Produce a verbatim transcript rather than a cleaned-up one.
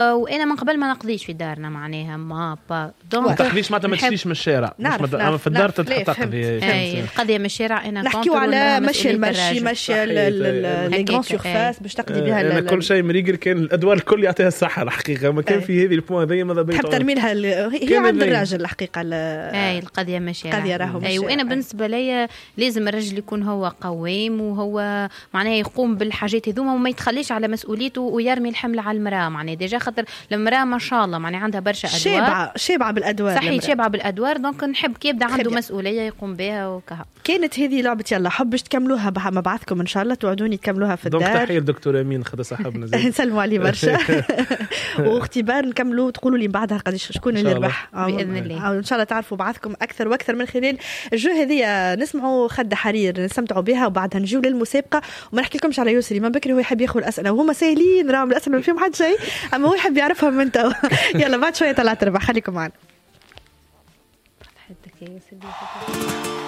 وانا من قبل ما نقضيش في دارنا، معناها ما با donc ما تقضيش معناتها ما تشريش من الشارع. نعرف. نعرف، في الدار تقضي. اي، القضية من الشارع انا. نحكيو على مشي ال marché، مشي les grandes surfaces باش تقضي بها. انا كل شيء مريقل، كان الادوار الكل يعطيها الصحة الحقيقه، ما كان في هذه ال point هذه ماذا بيا. تحب ترمي لها، هي عند الراجل الحقيقه. اي، القضية من الشارع. القضية راهو. اي، وانا بالنسبة لي لازم الرجل يكون هو قوام وهو معناها يقوم بالحاجات هذوما وما يتخليش على مسؤوليته ويرمي الحمل على المراة، معناها déjà خاطر المراة ما شاء الله معناها عندها برشا ادوار. شابعه شابعه بالادوار. صحيح، شابعه بالادوار، donc نحب كي يبدا عنده مسؤولية يقوم بها وكها. كانت هذه لعبه يلا حب، باش تكملوها مع بعضكم ان شاء الله، توعدوني تكملوها في الدار. donc تحية للدكتور امين خذا صاحبنا. نسلموا عليه برشا، واختبار نكملوا تقولوا لي بعدها قداش شكون اللي ربح. باذن الله. ان شاء الله تعرفوا بعضكم اكثر واكثر من خلال ال jeu هذه. نسمعوا خد حرير نستمتعوا بها وبعدها نجيو للمسابقه. وما نحكي لكمش على يسري، من بكري هو يحب ياخذ الاسئلة وهما ساهلين، راهم الاسئلة ما فيهم حد شيء، اما هو يحب يعرفهم من تو. يلا بعد شوية طلعت تربح، خليكم معنا.